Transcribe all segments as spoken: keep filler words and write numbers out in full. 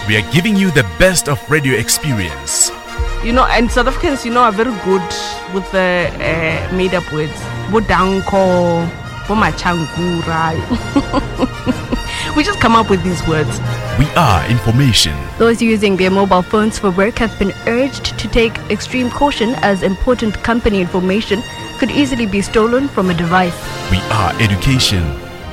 We are giving you the best of radio experience. You know, and South Africans, you know, are very good with the uh, made up words. Bodanko, Bomachankura. We just come up with these words. We are information. Those using their mobile phones for work have been urged to take extreme caution as important company information could easily be stolen from a device. We are education.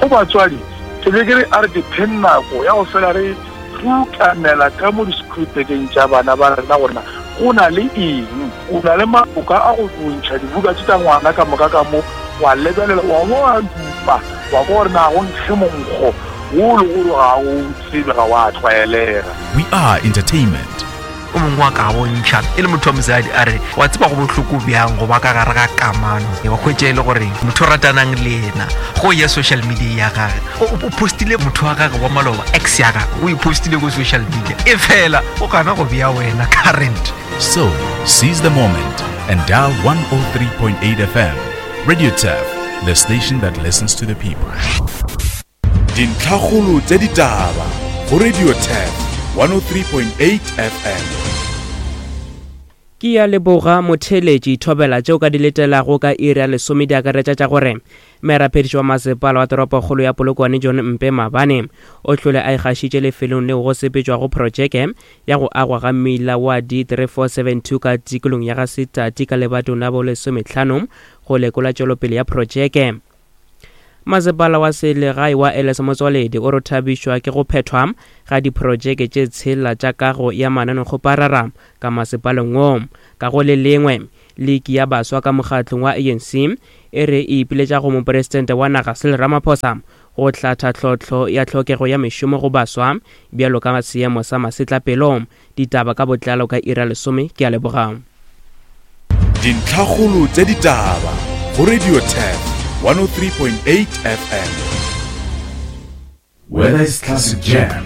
Go batswadi, ke be ke re a re dipheng nako ya go fela re rukanela ka mo di-schoolbageng tša bana ba rena gore na go na le eng. O na le maboka a go bontšha dibuka tše tša ngwana ka moka ka mo, wa lebelela wa bo wa dupa wa kwa gore na go nkge monkgo wo le gore ga o tsebe, ga wa tlwaelega. We are entertainment. O mongwe wa ka bontšha e le motho wa mosadi a re wa tseba go bohloko bjang go ba ka gare ga kamano, wa hwetša e le gore motho o ratanang le yena go ya social media ya gage o postile motho wa gage wa maloba, ex ya gage o e postile ko social media, e fela o gana go bea wena current. So seize the moment and dial one oh three point eight F M. Radio Turf, the station that listens to the people. Dintlhakgolo tša ditaba go Radio Turf one oh three point eight F M. Ke ya leboga motheletši thobela tšeo ka di letelago ka iri ya lesome di akaretša tša gore merapediši wa masepala wa toropokgolo ya Polokwane John Mpe Mabane o hlole a ikgašitše lefelong leo go sepetšwago projeke ya go agwa ga mmila wa D three four seven two ka tikolong ya ga Setati ka lebatong la bolesomehlano go lekola tšwelopele ya projeke. Masepala wa selegae wa Elias Motsoaledi o re thabišwa ke go phethwa ga diprojeke tše tshela tša kago ya mananekgoparara ka masepaleng wo. Ka go le lengwe, liki ya baswa ka mokgatlong wa A N C e re e ipiletša go mopresidente wa naga Cyril Ramaphosa go hlatha tlhohlo ya tlhokego ya mešomo go baswa bjalo ka seemo sa masetlapelo. Ditaba ka botlalo ka iri ya lesome. Ke a leboga. Dintlhakgolo tša ditaba go Radio Turf one oh three point eight F M. Whether it's classic jam,